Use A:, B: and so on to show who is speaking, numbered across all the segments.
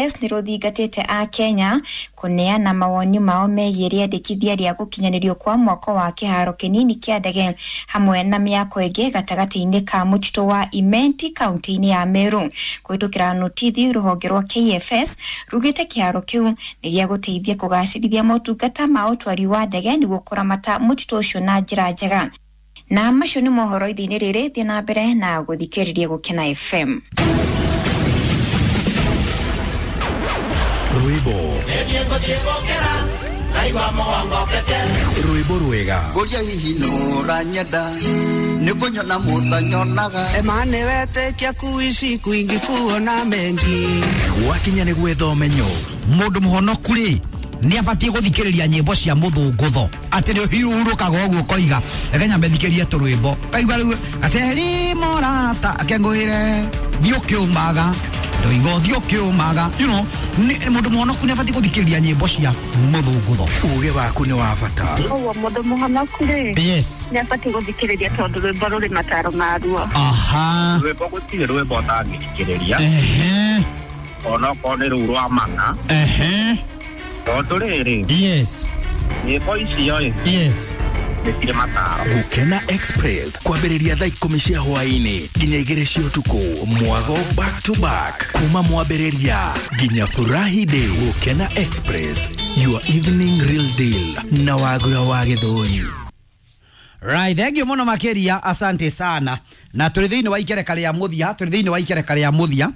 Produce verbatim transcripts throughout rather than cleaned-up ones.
A: K F S nĩ rũthingatĩte a Kenya kũneana mawoni mao megiĩ rĩendekithia rĩa gũkinyanĩrio kwa mwako wa kĩharo kĩnini kĩa ndege hamwe na mĩako ĩngĩ gatagatĩ-inĩ ka mũtitũ wa Imenti kaunti-inĩ ya Meru. Kũhĩtũkĩra notithi, rũhonge rwa K F S rugĩte kĩharo kĩu nĩ gĩa gũteithia kũgacĩrithia motungata ma ũtwari wa ndege nĩguo kũramata mũtitũ ũcio na njĩra njega. Na macio nĩ mohoro ithe-inĩ rĩrĩ. Thiĩ na mbere na gũthikĩrĩria Gũkena F M.
B: Rwĩmbo rwĩmbo rwega.
C: Ngũria hihi nũranyenda nĩ kũnyona mũtanyonaga.
D: Emane wetĩkia kuishi kwingi kuona mengi.
B: Gwakinya nĩ gwetha ũmenyo.
E: Mũndũ mũhonoku rĩ, nĩ abatiĩ gũthikĩrĩria nyĩmbo cia mũthũngũtho atĩ nĩ ũhurũkaga ũguo koiga reke nyambe thikĩrie tũrwĩmbo kaigua rĩu gaceri mũrata akengũĩre thiĩ ũkĩũmaga ndoigo thiĩ ũkĩũmaga you know, nĩ- mũndũ mũhonoku nĩ abatiĩ gũthikĩrĩria nyĩmbo cia mũthũngũtho.
B: Ũgĩ waku nĩ wa bata.
F: Ũguo mũndũ mũhonoku rĩ,
E: yes
F: nĩ abatiĩ gũthikĩrĩria tondũ rwĩmbo rũrĩ mataro maruo.
E: Aha.
G: Rwĩmbo, gũtirĩ rwĩmbo ũtangĩthikĩrĩria,
E: ehe
G: onokorwo nĩ rũu rwa mana,
E: ehe
G: tondũ rĩrĩ,
E: yes
G: nyĩmbo icio ĩ,
E: yes
G: nĩ cirĩ mataro.
B: Gũkena Express kwambĩrĩria thaa ikũmi cia hwaĩ-inĩ nginya igĩrĩ cia ũtukũ, mwago back to back kuma mwambĩrĩria nginya furahi day. Gũkena Express, your evening real deal na Wagura wa Gĩthũri.
E: Right, thank you muno makiria, asante sana. Na tũrĩ thĩinĩ wa ikereka rĩa mũthia, tũrĩ thĩinĩ wa ikereka rĩa mũthia.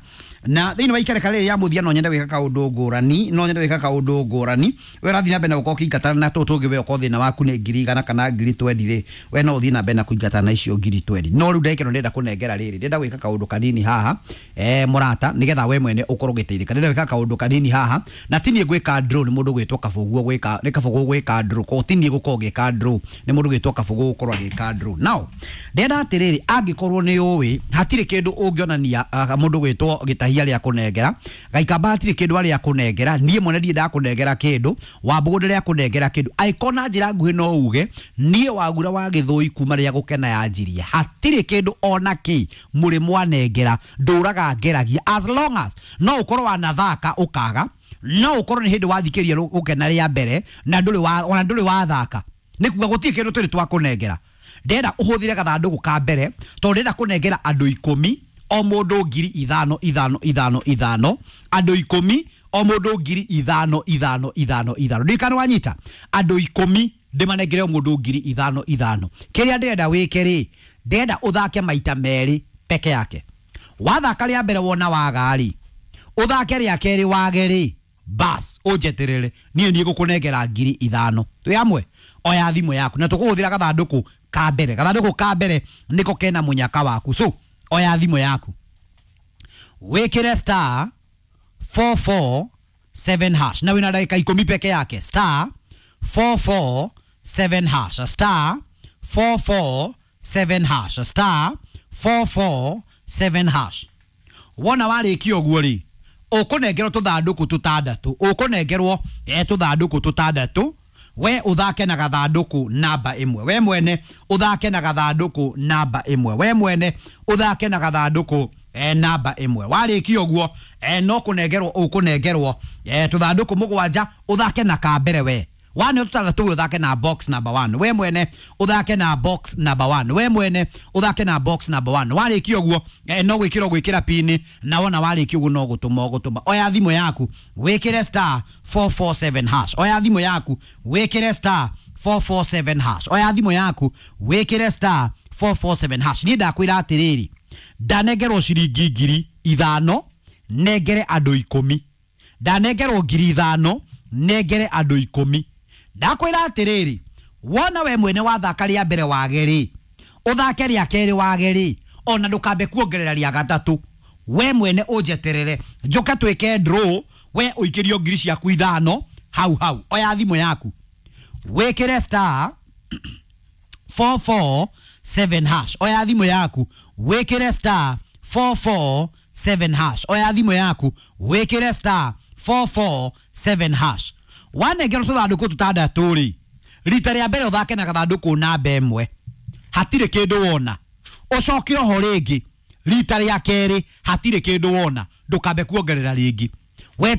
E: Na thĩinĩ wa ikereka rĩrĩ rĩa mũthia no nyende gwĩka kaũndũ ngũrani, no nyende gwĩka kaũndũ ngũrani. We ũrathiĩ na mbere na gũkorwo ũkĩingatana na tũtũ tũngĩ, we okorwo thĩna waku nĩ ngiri igana kana ngiri twendi rĩ, we no ũthiĩ na mbere na kũingatana na icio ngiri twendi. No rĩu ndagĩka ĩno ndĩrenda kũnengera rĩrĩ, ndĩrenda gwĩka kaũndũ kanini haha, eh, mũrata, nĩgetha we mwene ũkorwo ũgĩteithĩka. Ndĩrenda gwĩka kaũndũ kanini haha, na ti niĩ gwĩka draw, nĩ mũndũ gwĩtwo Kabũguo gwĩka, nĩ Kabũguo gwĩka draw, ko ti niĩ gũkorwo ngĩka draw, nĩ mũndũ gwĩtwo Kabũguo gũkorwo agĩka draw. Now, ndĩrenda atĩrĩrĩ, angĩkorwo nĩ ũĩ hatirĩ kĩndũ ũngĩonania uh, mũndũ gwĩtwo Gĩtahia rĩa kũnengera Gaikamba, hatirĩ kĩndũ arĩa kũnengera, niĩ mwene ndirĩ ndakũnengera kĩndũ, Wambũgũ ndĩrĩa kũnengera kĩndũ, angĩkorwo na njĩra nguhĩ no uge niĩ Wagura wa Gĩthũi kuma rĩrĩa Gũkena yanjirie hatirĩ kĩndũ ona kĩ mũrĩ mwanengera, ndũraga ngeragia. As long as no ũkorwo wanathaka ũkaga, no ũkorwo nĩ hĩndĩ wathikĩria Gũkena rĩa mbere na ndũrĩ wa ona ndũrĩ wathaka, nĩ kuga gũtirĩ kĩndũ tũrĩ twakũnengera. Ndĩrenda ũhũthĩre gathandũkũ ka mbere tondũ ndĩrenda kũnengera andũ ikũmi, o mũndũ ngiri ithano ithano ithano ithano, andũ ikũmi, o mũndũ ngiri ithano ithano ithano ithano. Ndirikana wanyita, andũ ikũmi ndĩmanengere o mũndũ ngiri ithano ithano. Kĩrĩa ndĩrenda wĩke rĩ, ndĩrenda ũthake maita merĩ peke yake. Wathaka rĩa mbere wona waga rĩ, ũthake rĩa kerĩ wage rĩ, bas ũnjeterere niĩ niĩ gũkũnengera ngiri ithano. Twĩ hamwe? Oya thimũ yaku na tũkũhũthĩra gathandũkũ ka mbere. Gathandũkũ ka mbere nĩko kena mũnyaka waku. So oya thimũ yaku, wĩkĩre star four four seven hash, na wĩna ndagĩka ikũmi peke yake. Star four four seven hash, star four four seven hash, star four four seven hash. Wona warĩkia ũguo rĩ, ũkũnengerwo tũthandũkũ tũtandatũ, ũkũnengerwo eh, tũthandũkũ tũtandatũ. We ũthake na gathandũkũ namba ĩmwe, we mwene ũthake na gathandũkũ namba ĩmwe, we mwene ũthake na gathandũkũ eh, namba ĩmwe. Warĩkia ũguo, eh, no kũnengerwo ũkũnengerwo eh, tũthandũkũ mũgwanja, ũthake na kambere. We wane tũtandatũ, we ũthake na box number one, we mwene ũthake na box number one, we mwene ũthake na box number one. Warĩkia ũguo, eh, no gwĩkĩra gwĩkĩra pini, na wona warĩkia ũguo no gũtũma ũgũtũma. Oya thimũ yaku, wĩkĩre star four four seven hash. Oya thimũ yaku, wĩkĩre star four four seven hash. Oya thimũ yaku, wĩkĩre star four four seven hash. Niĩ ndakwĩra atĩrĩrĩ, ndanengerwo ciringi ngiri ithano nengere andũ ikũmi, ndanengerwo ngiri ithano nengere andũ ikũmi. Ndakwĩra atĩrĩrĩ, wona we mwene wathaka rĩa mbere wage rĩ, ũthake rĩa kerĩ wage rĩ, ona ndũkambe kuongerera rĩa gatatũ, we mwene ũnjeterere njoke twĩke draw, we ũikĩrio ngiri ciaku ithano hau hau. Oya thimũ yaku, wĩkĩre star four four seven hash. Oya thimũ yaku, wĩkĩre star four four seven hash. Oya thimũ yaku, wĩkĩre star four four seven hash. Wanengerwo tũthandũkũ tũtandatũ rĩ, rita rĩa mbere ũthake na gathandũkũ namba ĩmwe, hatirĩ kĩndũ wona, ũcoke oho rĩngĩ rita rĩa kerĩ, hatirĩ kĩndũ wona, ndũkambe kuongerera rĩngĩ. We.